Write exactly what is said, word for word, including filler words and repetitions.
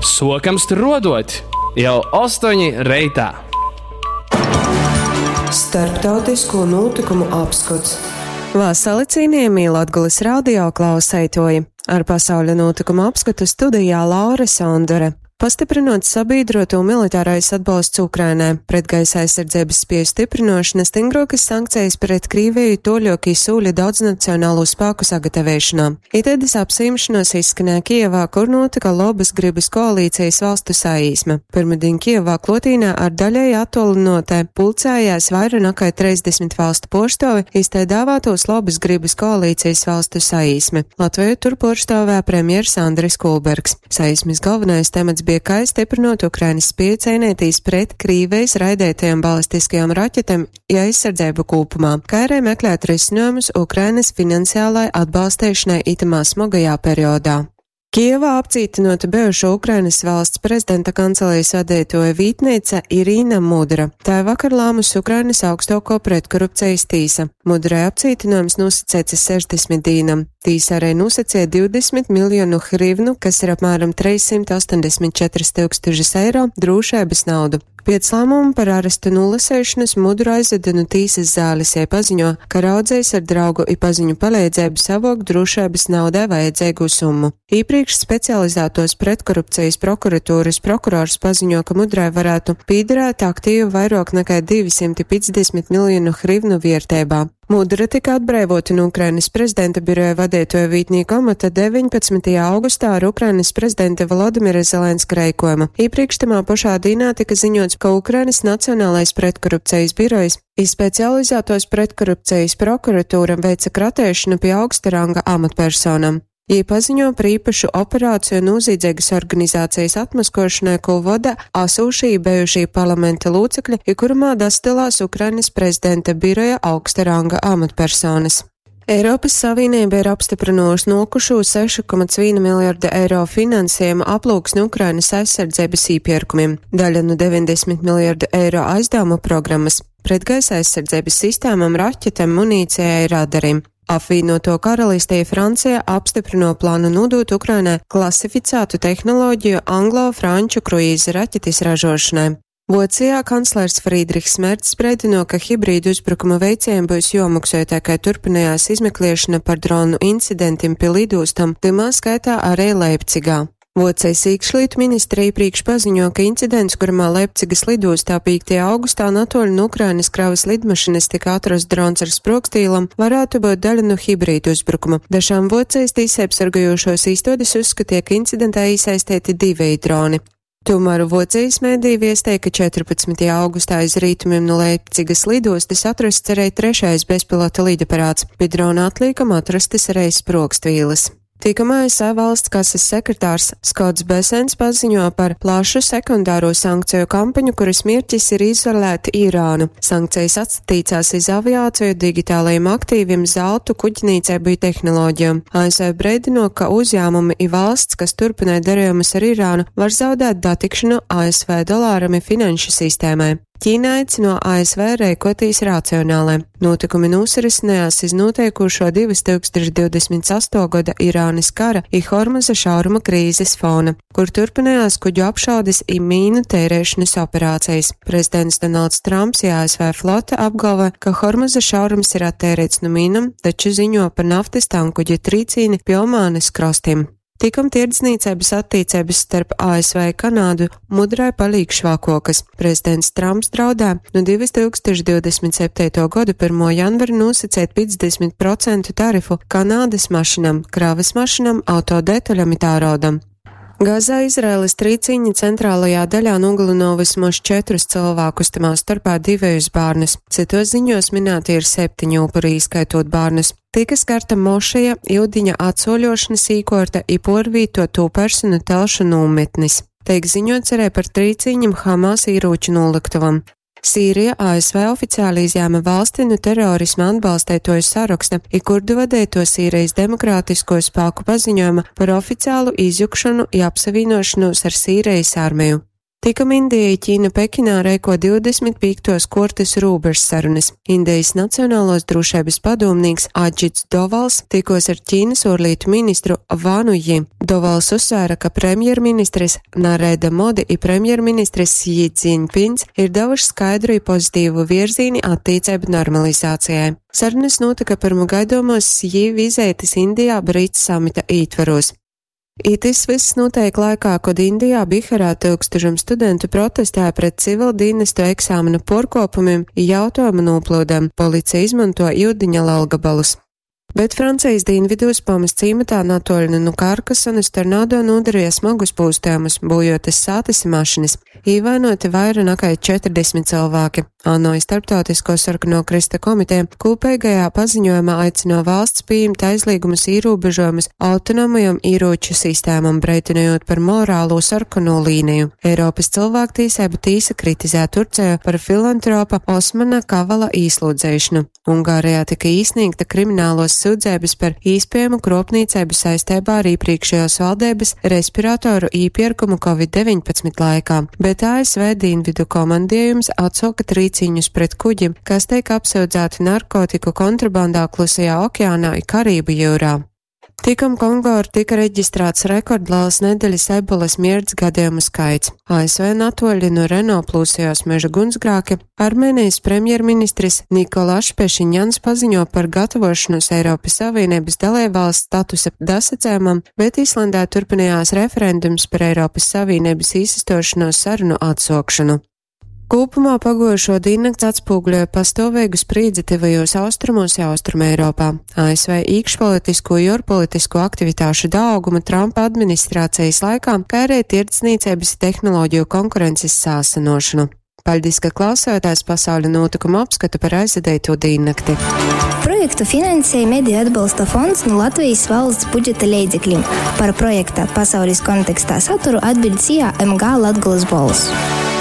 Sokam struodot jau ostoņi reitā. Starptautisko notikumu apskots. Vasali cienījamie Latgulas radio klauseitoji! Ar pasauļa notikumu apskatu studijā Laura Sondore. Pastiprinot sabiedroto militārais atbalsts Ukrainai, pretgaisa aizsardzības spēju stiprinošana, stingrokas sankcijas pret Krīviju toļoki sūļa daudznacionālo spēku sagatavēšanā. Itēdas apsīmšanos izskanēja Kijevā, kur notika Lobas gribas koalīcijas valstu saīsme. Pirmdien Kijevā klotīnā ar daļēji attolinotē pulcējās vairāk nekā trīsdesmit valstu porstovi, iztē dāvātos Lobas gribas koalīcijas valstu saīsme. Latviju tur porstāvē premjers Andris Kulbergs. Saīsmes galvenais temats bija kā stiprinot Ukrainas spēju cīnīties pret Krīvijas raidētajām balistiskajām raķetēm ja aizsardzību kopumā, kā arī meklēt risinājumus Ukrainas finansiālai atbalstīšanai itamā smagajā periodā. Kijevā apcītinota bijušo Ukrainas valsts prezidenta kancelijas vadītoja vītneica Irīna Mudra. Tā vakar lēmusi Ukrainas augstāko pretkorupcijas tīsa. Mudrai apcītinājums nosacīts sešdesmit dīnam. Tīsa arī nosacīja divdesmit miljonu hrivnu, kas ir apmēram trīssimt astoņdesmit četras tūkstošus eiro, drošības naudu. Pēc lēmuma par arestu nolasēšanas Mudru aizveda no tīsas zāles, ja paziņo, ka raudzējs ar draugu i paziņu palīdzību savok drošības naudai vajadzīgu summu. Iepriekš specializētos pretkorupcijas prokuratūras prokurors paziņo, ka Mudrai varētu pīderēt aktīvu vairāk nekā divi simti piecdesmit miljonu hrivnu vērtībā. Mudra tika atbrīvota no Ukrainas prezidenta biroja vadītoja vītnieku amata deviņpadsmitajā augustā ar Ukrainas prezidenta Volodimira Zelenska reikojumu. Iepriekš tamā pašā dienā tika ziņots, ka Ukrainas Nacionālais pretkorupcijas birojs izspecializētos pretkorupcijas prokuratūra veica kratēšanu pie augsta ranga amatpersonam. Jī paziņo par īpašu operāciju nozīdzīgas organizācijas atmaskošanai, ko vada asūšī bijušī parlamenta locekļi, i kurumā dastilās Ukrainas prezidenta biroja augsta ranga amatpersonas. Eiropas Savienība ir apstiprinājusi nokušo sešu komats viena miljarda eiro finansējumu aplūksni Ukrainas aizsardzības īpirkumiem, daļa no deviņdesmit miljardu eiro aizdevumu programmas, pretgaisa aizsardzības sistēmām, raķetēm, munīcijai, radariem. Apvienoto karalistē Francija apstiprino plānu nodot Ukrainai klasificētu tehnoloģiju anglo-franču kruīza raķetes ražošanai. Vācijā kanclers Friedrichs Merts brēdino, ka hibrīdu uzbrukuma veicējiem būs jomaksā, tā kā turpinājās izmeklēšana par dronu incidentiem pie lidostam, tymā skaitā arī Leipcigā. Vācijas iekšlietu ministra iepriekš paziņo, ka incidents, kuramā Leipcigas lidostā piektajā augustā natoļu no Ukrainas kravas lidmašīnas tika atrasts drons ar sprogstīlam, varētu būt daļa no hibrīdu uzbrukuma. Dažām Vācijas tiesībsargājošos īstodes uzskatīja, ka incidentā iesaistīti divi droni. Tomēr Vācijas mēdī viestēja, ka četrpadsmitajā augustā aiz rietumiem no Leipcigas lidostas atrasts arī trešais bezpilota lidaparāts. Pie drona atliekam atrastas arī sprogstvīles. Tikam A S V valsts kases sekretārs Skots Besens paziņo par plašu sekundāro sankciju kampaņu, kuras mērķis ir izolēt Irānu. Sankcijas atstatīcās iz aviāciju, digitālajiem aktīviem, zeltu, kuģnīcību i tehnoloģijām. A S V brēdino, ka uzņēmumi i valsts, kas turpināja darījumus ar Irānu, var zaudēt datikšanu A S V dolāram i finanšu sistēmai. Ķīna aicino A S V rēkotīs racionālai. Notikumi nosarisinājās iz noteikušo divas tūkstoši divdesmit asto gada Irānas kara i Hormuza šauruma krīzes fona, kur turpinājās kuģu apšaudes i mīnu tērēšanas operācijas. Prezidents Donalds Trumps i A S V flote apgalvo, ka Hormuza šaurums ir attērēts no mīnam, taču ziņo par naftas tankuģa trīcīni pie Omānes krastiem. Tikam tirdzniecības attiecības starp A S V i Kanādu mudrai palīk švakokas. Prezidents Trumps draudē no divas tūkstoši divdesmit septīto gadu pirmo janvaru nosacīt piecdesmit procentu tarifu Kanādas mašinam, kravas mašinam, autodetaļam i tēraudam. Gazā Izraēlas trīcīņa centrālajā daļā nogalino vismaz četrus cilvēkus, tamā starpā divējus bērnus. Citos ziņos minēti ir septiņi upuri, ieskaitot bērnus. Tika skarta mošeja, iudiņa atsoļošanas īkorta i porvīto to personu telšu nometnis. Tiek ziņots arī par trīcīņam Hamas ieroču noliktavam. Sīrija A S V oficiāli izņēma valsti no terorisma atbalstētoju saraksta, i kurdu vadēto Sīrijas demokrātisko spēku paziņojuma par oficiālu izjukšanu i apsavienošanos ar Sīrijas armiju. Tikom Indija i Ķīna Pekinā reiko divdesmit pīktuos kuortys rūbežsarunys. Indejis Nacionaluos drūšeibys padūmnīks Adžits Dovals tikuos ar Ķīnys uorlītu ministru Vanu Ji. Dovals uzsvēra, ka premjerministris Narenda Modi i premjerministris Sji Dzinpins ir davuši skaidru i pozitīvu vierzīni attīceibu normalizācijai. Sarunys nūtyka pyrma gaidomuos Sji vizeitis Indijā BRICS samita ītverūs. I tys vyss nūteik laikā, kod Indijā Biharā tyukstužam studentu protestēja pret civildīnestu eksāmenu puorkuopumim i jautuojumu nūplyudem. Policija izmonto iudiņa lelgabalus. Bet Francijas dīnvidūs Pomas cīmatā natuoļi nu Karkasonas tornado nodarīja smagus pūstējumus, būjotas sātas i mašinis. Īvainoti vaira nakai četrdesmit cylvāki. ANO i Starptautisko sarkano krysta komiteja kūpeigajā paziņojumā aicino valsts pījimt aizlīgumus īrūbežojumus autonomajom īrūču sistēmom, breitinojot par morālo sarkano līniju. Eiropas cilvēktīsību tīsa kritizē Turciju par filantropa Osmana Kavala īslūdzēšanu. Ungārijā tika īsniegta kriminālos sūdzības par īspējamu kropnīcību saistībā ar iepriekšējās valdības respiratoru īpirkumu Covid deviņpadsmit laikā, bet A S V dienvidu komandējums atsauka trīciņus pret kuģim, kas tiek apsūdzēti narkotiku kontrabandā Klusajā okeānā i Karību jūrā. Tikom Kongo tika reģistrēts rekordliels nedēļas ebolas mirts gadījumu skaits. A S V natuoļi no Renault plūsējos meža gunsgrāki, Armēnijas premjerministris Nikolašs Pešinjans paziņo par gatavošanos Eiropas Savienības dalībvalsts statusa dasacējumam, bet Islandē turpinājās referendums par Eiropas Savienības īsastošanos sarunu atsokšanu. Kopumā pagojušo diennakts atspoguļoja pastāvīgu sprīdzi tuvajos austrumos i Austruma Eiropā. A S V iekšpolitisko i ārpolitisko aktivitāšu daugumu Trumpa administrācijas laikā, kā arī tirdzniecības i tehnoloģiju konkurences sāsinošanu. Paļdis, ka klausāties pasauļa notikumu apskatu par aizvadīto diennakti. Projektu finansēja Mediju atbalsta fonds no Latvijas valsts budžeta leidzekļiem. Par projekta pasaules kontekstā saturu atbild S I A M G Latgulas Bols.